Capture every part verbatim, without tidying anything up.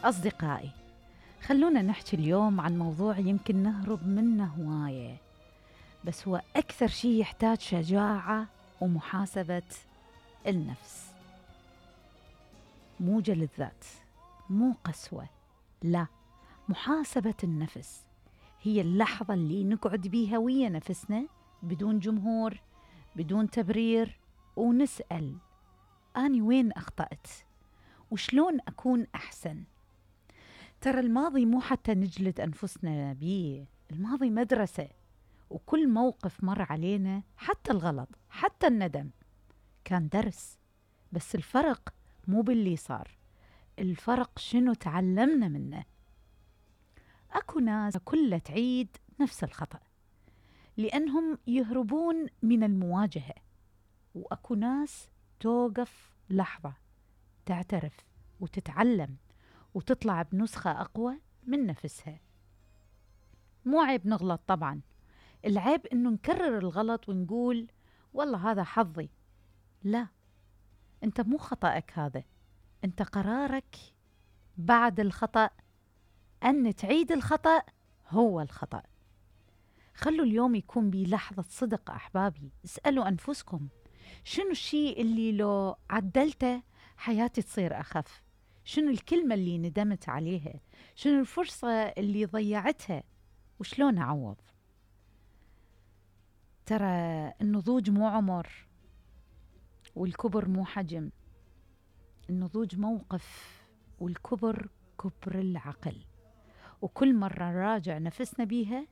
أصدقائي، خلونا نحكي اليوم عن موضوع يمكن نهرب منه هواية، بس هو أكثر شيء يحتاج شجاعة ومحاسبة النفس. مو جلد ذات، مو قسوة، لا، محاسبة النفس. هي اللحظة اللي نقعد بيها ويا نفسنا بدون جمهور، بدون تبرير، ونسأل أني وين أخطأت وشلون أكون أحسن. ترى الماضي مو حتى نجلد أنفسنا بيه، الماضي مدرسة، وكل موقف مر علينا، حتى الغلط، حتى الندم، كان درس. بس الفرق مو باللي صار، الفرق شنو تعلمنا منه. أكو ناس كلها تعيد نفس الخطأ لأنهم يهربون من المواجهة، وأكو ناس توقف لحظة، تعترف وتتعلم وتطلع بنسخة أقوى من نفسها. مو عيب نغلط طبعا، العيب إنه نكرر الغلط ونقول والله هذا حظي. لا، أنت مو خطأك هذا، أنت قرارك بعد الخطأ أن تعيد الخطأ هو الخطأ. خلوا اليوم يكون بلحظة صدق أحبابي، اسألوا أنفسكم شنو الشيء اللي لو عدلته حياتي تصير أخف؟ شنو الكلمة اللي ندمت عليها؟ شنو الفرصة اللي ضيعتها؟ وشلون أعوض؟ ترى النضوج مو عمر، والكبر مو حجم، النضوج موقف، والكبر كبر العقل. وكل مرة نراجع نفسنا بيها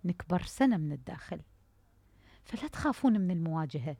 نكبر سنة من الداخل. فلا تخافون من المواجهة،